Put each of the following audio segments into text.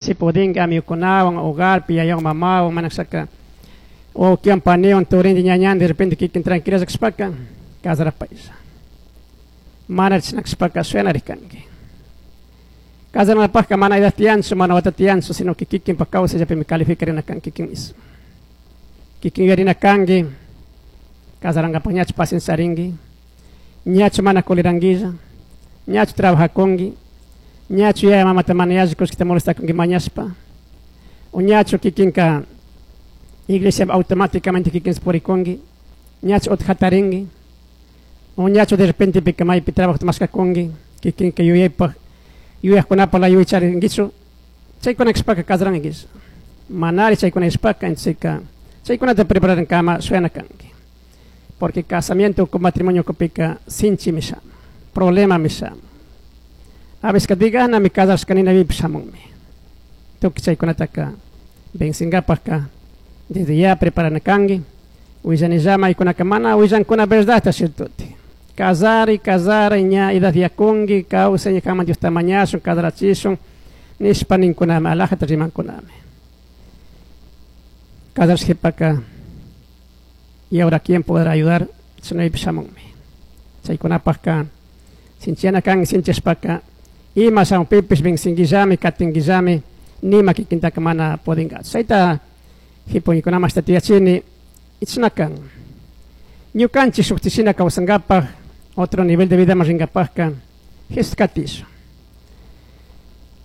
Si pudinki amigukunawan, hogarpi, yayawan, mamawan, mana kashaka wawkiwan, paniwan, turinti, ñañanti, de repente kikin tranquilalla kashpaka casarapaylla. Mana chashna kashpaka shuyanari kanki. Casaranapajka mana edad tiyanchu, mana wata tiyanchu, sino que kikinpak kawsayllapimi calificarina kanki kikin mismo. Kikin yuyarina kanki, casarankapak ñachu paciencia charinki, ñachu mana coleranquilla, ñachu trabajakunki, ñachu yaya mamata mana yalli kullkita molestakunki mañashpa, o ñachu kikinka iglesia automáticamente kikin purikunki, ñachu utqa jatarinki, o ñachu de repente pika maypi trabajota mashkakunki, kikinka yuyaypak yuyajkunapaj la yuyay charinkichu, chaykuna kashpaka casarankish. Manari chaykuna kashpaka, entonces chaykunata preparankama shuyana kanki. Porque casamiento con matrimonio kupika sinchimi shamun, problemami shamun. A veces diganami casashkanina vipi shamunmi. Tukuy chaykunataka vencingapajka desde ya preparana kanki, willanillama maykunaka mana willankuna verdadta ciertoti. Casari, casari, ña edad yakunki, kawsay ña kanman Diosta mañashun, casarachishun, nishpa ninkunami, alajata rimankunami. Casarshipaka, y ahora quién podrá ayudar, chashnaypi shamunmi. Chaykunapajka sinchiyana kanki, sinchishpaka, ima shamunpipish vencinguillami, katinguillami, nima kikintaka mana pudinkachu. Chayta hipuñikunaman ashta tiyachini, chashna kan. Ñukanchik shukti kawsankapaj, otro nivel de vida rinkapajka, Jesús katishun.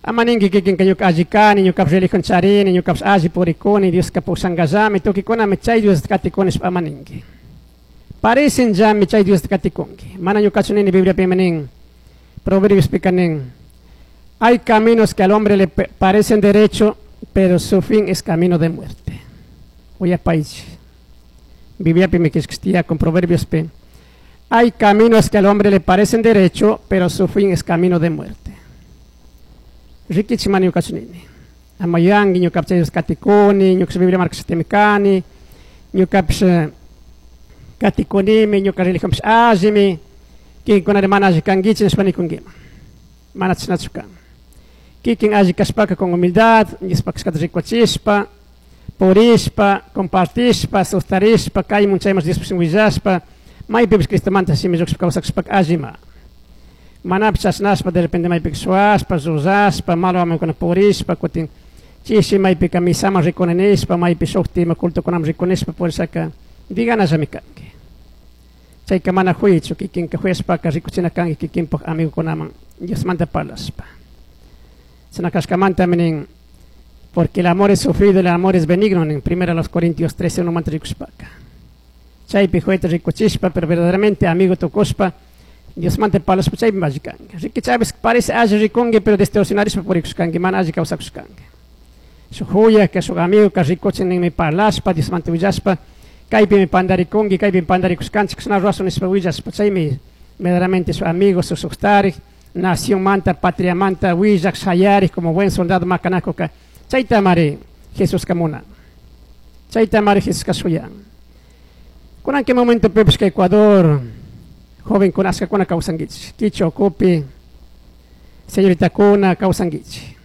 Ama ninki kikinka ñuka alli kani, ñukapish religión charini, ñukapish alli purikuni, Dioska pushankallami, tukuykunami chay Diosta katikuni nishpa ama ninki. Parecen llami chay Diosta katikunki. Mana ñukachu nini Bibliapimi nin, Proverbios nin, hay caminos que al hombre le parecen derecho, pero su fin es camino de muerte. Uyapaychik. Bibliapimi killkashka con Proverbios pi. Hay caminos que al hombre le parecen derecho, pero su fin es camino de muerte. Rikichik mana ñukachu nini. Ama yuyanki ñukapish chay Dios katikuni, ñukapish Biblia markashatimi kani, ñukapish katikunimi, ñuka religionpish allimi, kikinkunari mana alli kankichik nishpa nikunkiman. Mana chashnachu kan. Kikin alli kashpaka con humildad, Diospaj kashkata rikuchishpa, purishpa, compartishpa, sustarishpa, kaymun chayman Diospaj willashpa, maypipish Cristomanta shimi lluqshpa kawsakushpaka allima. Manapish chashnashpa de repente maypika shuwashpa, llullashpa, malo amigokuna purishpa, kutin chishi maypika misaman rikuni nishpa, maypi shukti ima cultokunaman rikuni nishpa purishaka diganallami kanki. Chayka mana huychu, kikinka huyashpaka rikuchina kanki kikinpak amigokunaman Diosmanta parlashpa. Chashna kashkamantami nin, porque el amor es sufrido, el amor es benigno, nin primero a los Corintios 13, 1 rikushpaka. Chaypi huyta rikuchishpa, pero verdaderamente amigo tukushpa, Diosmanta parlashpa chaypi alli kanki. Riki chaypis parece alli rikunki, pero distorsionarishpa purikushkanki, mana alli kawsakushkanki. Shuk huyaka, shuk amigo rikuchin ninmi parlashpa, Diosmanta willashpa, kaypimi pandarikunki, kaypimi pandarikushkanchik, chashna rurasun nishpa willashpa, chaymi verdaderamente su amigo, su suktarik, nación manta, patria manta, willak, shayarik, como buen soldado makanakuka. Chayta mari Jesuska munan. Chayta mari Jesuska shuyan. Kunan que momento pipish ka Ecuador, joven kunashkakuna kawsankichik, Kichwa ukupi, señoritakuna kawsankichik.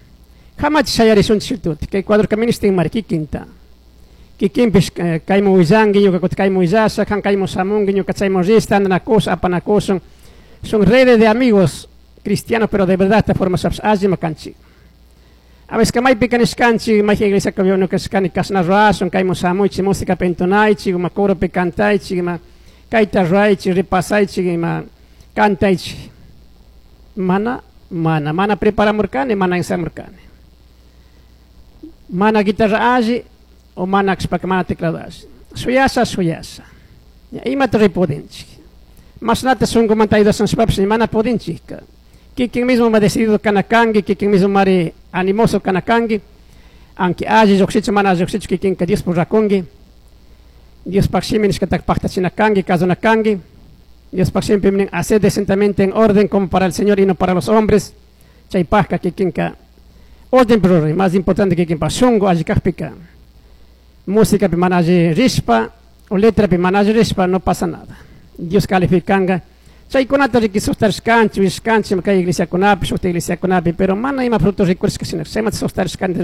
Hamachi shayarishunchik tuti, kay Ecuadorka ministin mari kikinta. Kikinpish kayman willanki, ñuka kutin kayman willasha, kan kayman shamunki, ñuka chayman rishta, andanakushun, apanakushun. Son redes de amigos cristianos, pero de verdad esta forma allima kanchik. A veces que maypika nishkanchik, mayjin iglesia ñuka kashkani kashna rurashun, kayman shamuychik, música entonaychik, ima coropi cantaychik, ima kayta ruraychik, repasaychik, ima cantaychik. Mana, mana, mana preparamurkani, mana ensayamurkani. Mana guitarra alli, o mana kashpaka mana teclado alli. Shuyasha, shuyasha. Imata ripudinchik. Mashnata shunkumanta ayudashunshpapish mana pudinchik. Kikin mismo ma decidido kana kanki, kikin mismo mari animoso kana kanki, aunque alli llukshichu mana alli llukshichu kikinka Diospuk rakunki. Diospaj shimi nishkataka paktachina kanki, kasuna kanki. Diospaj shimipi nin, haced decentemente en orden como para el Señor y no para los hombres. Chaypajka kikinka orden rurari, más importante kikinpa shunku alli kakpika. Música pi mana alli rishpa, o letra pi mana alli rishpa, no pasa nada. Dios calificanga. Chaykunata riki sustarishkanchik, willashkanchik kay iglesiakunapi, shukta iglesiakunapi, pero mana ima fruto rikurishka shina, chaymanta sustarishkanchik.